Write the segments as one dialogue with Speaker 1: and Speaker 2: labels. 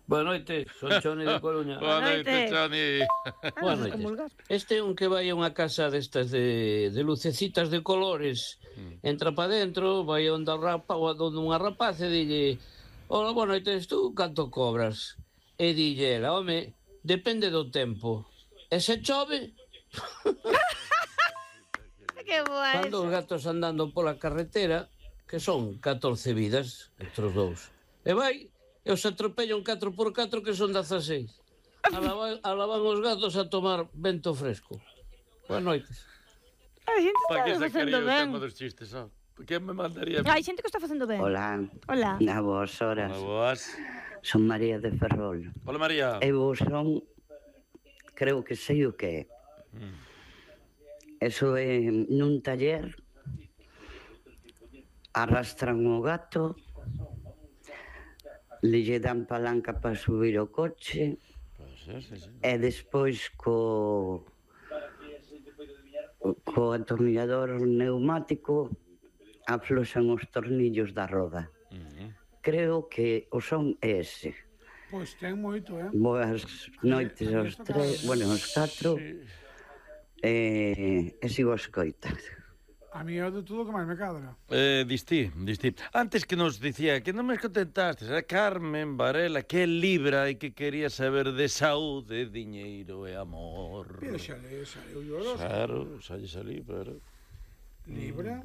Speaker 1: Boa noite, son Choni de Coruña.
Speaker 2: Boa noite, Choni.
Speaker 1: Boa noite. Este é un que vai a unha casa destas de lucecitas de colores. Entra pa dentro, vai onde unha rapaz e dille: hola, boa noite, tú canto cobras? E dille ela: home, depende do tempo. E se chove?
Speaker 3: Que boa
Speaker 1: Cando os gatos andando pola carretera, que son 14 vidas, entre os dous. E vai, e os atropellan 4x4 que son 16. Alaban os gatos a tomar vento fresco. Boas noites.
Speaker 3: A xente
Speaker 2: Pa que
Speaker 3: está
Speaker 2: sacaría
Speaker 3: facendo
Speaker 2: o
Speaker 3: ben.
Speaker 2: tema dos chistes, só? Quen me mandaría?
Speaker 3: Hai xente que está facendo ben.
Speaker 4: Hola.
Speaker 3: Hola.
Speaker 4: A vos horas.
Speaker 2: Hola, boas.
Speaker 4: Son María de Ferrol.
Speaker 2: Hola, María.
Speaker 4: Eu son, creo que sei o que é. Eso é nun taller, arrastran o gato, lle dan palanca para subir o coche, e despois co atornillador neumático afloxan os tornillos da roda. Creo que o son ese.
Speaker 5: Pois ten moito,
Speaker 4: Boas noites aos tres, bueno, aos catro, e sigo a escoitar.
Speaker 5: A mí é de todo o que máis me cadra.
Speaker 2: Distí. Antes que nos dicía que non me contentastes, a Carmen Varela, que libra e que quería saber de saúde, diñeiro e amor.
Speaker 5: Pero xa eu lloro.
Speaker 2: Claro, xa lle salí, pero...
Speaker 5: Libra.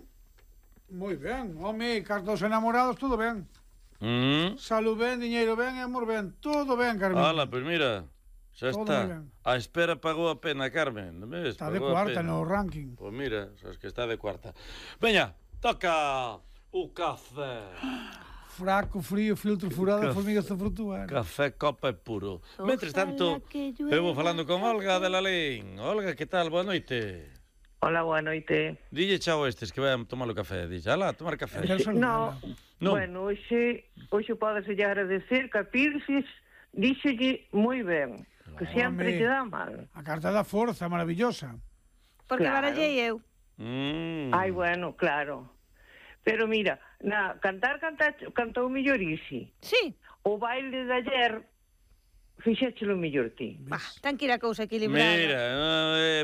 Speaker 5: Moi ben. Home, cartos enamorados, todo ben. Salud ben, diñeiro ben e amor ben. Todo ben, Carmen.
Speaker 2: Ala, pois mira, xa
Speaker 5: Todo
Speaker 2: está.
Speaker 5: moi ben.
Speaker 2: A espera pagou a pena, Carmen. Non ves?
Speaker 5: Está de
Speaker 2: Pagou a
Speaker 5: cuarta
Speaker 2: pena.
Speaker 5: no ranking.
Speaker 2: Pois mira, sabes que está de cuarta. Veña, toca o café.
Speaker 5: Fraco, frío, filtro furado,
Speaker 2: Café.
Speaker 5: formigas de frutuar.
Speaker 2: Café, copa e puro.
Speaker 3: Ojalá
Speaker 2: Mentres tanto,
Speaker 3: que llueva.
Speaker 2: eu vou falando con Olga de Lalín. Olga, que tal? Boa noite.
Speaker 6: Hola, boa noite.
Speaker 2: Dille chao a estes que vayan tomar o café. Dille, alá, tomar café.
Speaker 6: No,
Speaker 2: Non.
Speaker 6: bueno, hoxe podes lle agradecer que a Pirsis díxelle moi ben, que sempre
Speaker 5: Home.
Speaker 6: te dá mal.
Speaker 5: A carta da forza, maravillosa.
Speaker 3: Porque
Speaker 6: Claro.
Speaker 3: barallei eu.
Speaker 6: Ai, bueno, claro. Pero mira, cantou mellor Isi.
Speaker 3: Sí.
Speaker 6: O baile de ayer fixéchelo mellor ti.
Speaker 3: Ten que ir a cousa equilibrada.
Speaker 2: Mira,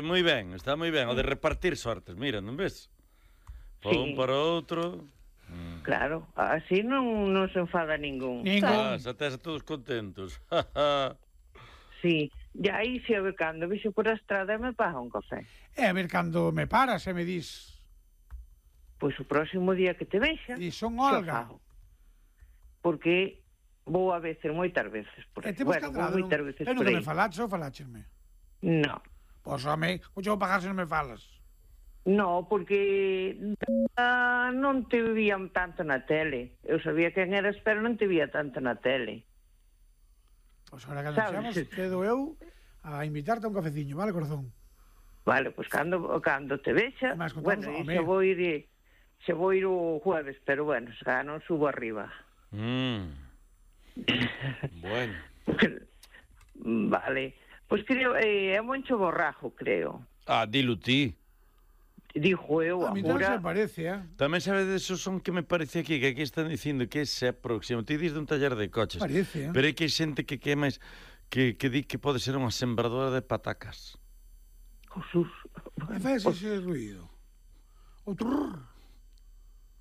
Speaker 2: moi ben, está moi ben. O de repartir sortes, mira, non ves? Para un,
Speaker 6: Sí.
Speaker 2: para outro.
Speaker 6: Claro, así non se enfada ningún.
Speaker 2: Xa tes a todos contentos.
Speaker 6: Sí, e aí se a ver cando vixo por a estrada me paga un café.
Speaker 5: E a ver cando me paras e me dis.
Speaker 6: Pois o próximo día que te vexa.
Speaker 5: E son
Speaker 6: xa
Speaker 5: Olga.
Speaker 6: fago. Porque vou a veces, moitas veces. Por
Speaker 5: E
Speaker 6: aí.
Speaker 5: temos
Speaker 6: Bueno, vou
Speaker 5: cadrado.
Speaker 6: moitas veces
Speaker 5: E
Speaker 6: por
Speaker 5: nunca
Speaker 6: aí.
Speaker 5: me falaches ou faláchesme?
Speaker 6: No.
Speaker 5: Pois, home, o vou pagar se non me falas.
Speaker 6: No, porque non te vían tanto na tele. Eu sabía quen eras, pero non te vía tanto na tele.
Speaker 5: Pois agora que
Speaker 6: Sabes?
Speaker 5: anunciamos, quedo eu a invitarte a un cafeciño, vale, corazón?
Speaker 6: Vale, pois cando te vexa,
Speaker 5: Mas contamos,
Speaker 6: bueno,
Speaker 5: home.
Speaker 6: xa vou ir o jueves, pero bueno, xa non subo arriba.
Speaker 2: Bueno.
Speaker 6: Vale. Pois creo, é Moncho Borrajo, creo.
Speaker 2: Dilo ti.
Speaker 6: Dijo eu,
Speaker 5: A mí non
Speaker 6: agora...
Speaker 5: se parece,
Speaker 2: Tamén sabes deso son que me parece aquí, que aquí están dicindo que ese é próximo. Ti dis dun taller de coches.
Speaker 5: Parece,
Speaker 2: Pero é que hai xente que é máis que di que pode ser unha sembradora de patacas.
Speaker 6: Jesús.
Speaker 5: E faz ese ruido. O trrr.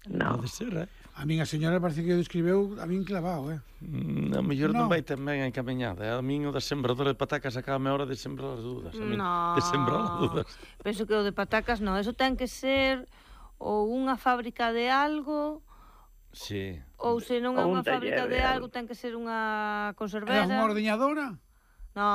Speaker 6: No.
Speaker 2: Pode ser,
Speaker 5: A min a señora parece que o describeu a min clavado,
Speaker 2: A mellor non
Speaker 5: No.
Speaker 2: vai tan ben encaminhada. A min o da sembradora de patacas acaba a hora de sembrar as dudas. A min,
Speaker 3: No.
Speaker 2: de sembrar as dudas.
Speaker 3: Penso que o de patacas non, eso ten que ser ou unha fábrica de algo,
Speaker 2: Sí.
Speaker 3: ou se non é
Speaker 6: Ou un
Speaker 3: unha fábrica
Speaker 6: taller
Speaker 3: de
Speaker 6: de
Speaker 3: algo, ten que ser unha
Speaker 5: É
Speaker 3: conservera.
Speaker 5: unha ordeñadora?
Speaker 3: No,